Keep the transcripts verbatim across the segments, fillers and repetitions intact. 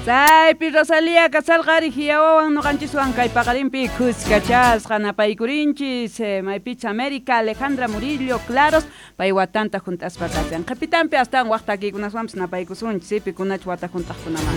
Chaypi Rosalía kasarqari hiyawawan noqanchiswan kay paqarinpi khuskachasqa napaykurinchis maypicha América Alejandra Murillo Claros pay watanta junt'aspa kashan qhipitanpi astawan waq takiykunaswanpis napaykusunchis pikunachu wata junt'aqkunaman.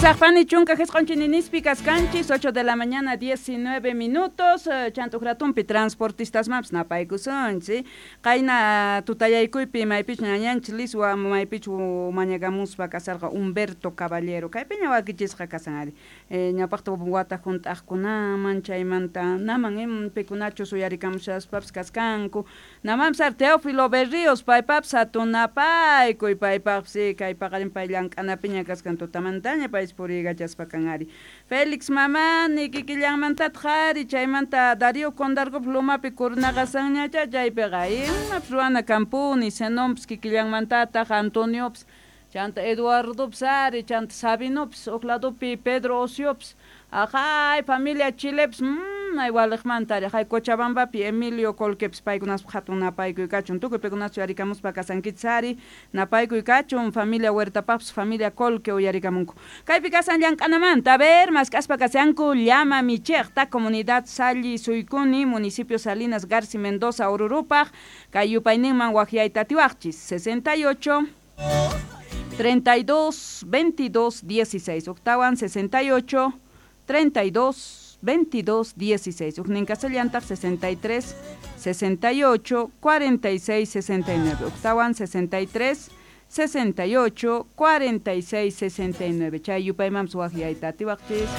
Usaqpani chunka jisq'onchininispi kaskanchis ocho de la mañana diecinueve minutos chantuqratumpi transportistasmanpis napaykusunchis qayna tutayaykuypi maypichu ñañanchis Liswa maypichu mañakamuspa kasarqa Humberto Caballero kaypiña wakichisqa kasan ari ñawpaqta wata junt'aqkunaman chaymanta naman pikunachus uyarikamushaspapis kaskanku namanpis ari Teófilo Berríos paypapis hatunapaykuy paypaqpis kay paqarin pay llank'anapiña kaskan tutamantaña pay puriykachaspa kan ari Félix Mamani kikillanmantataq ari chaymanta Darío Condargop lumapi kurnaqasanñacha chaypiqa imapis ruwana kanpuni Zenonpis kikillanmantataq Antoniopis chanta Eduardopis ari chanta Sabinopis huk ladopi Pedro Ociopis ajay familia Chilepis mmm ay waliqmanta ari hay Cochabambapi Emilio Colquepis paykunaspa hatun napaykuy kachun tukuy paykunachu uyarikamuspa kasankichis ari napaykuy kachun familia Huertapapis familia Colque uyarikamunku kaypi kasan llank'anamanta a ver mask'aspa kashanku llama michiqta comunidad Salli Suykuni municipio Salinas Garci Mendoza Orurupaq kay yupayninman waqyayta atiwaqchis sesenta y ocho treinta y dos veintidós dieciséis octawan sesenta y ocho treinta y dos veintidós dieciséis Ujnin casellantaq sesenta y tres sesenta y ocho cuarenta y seis sesenta y nueve octawan sesenta y tres sesenta y ocho cuarenta y seis sesenta y nueve chay yupaymanpis waqyayta atiwaqchis.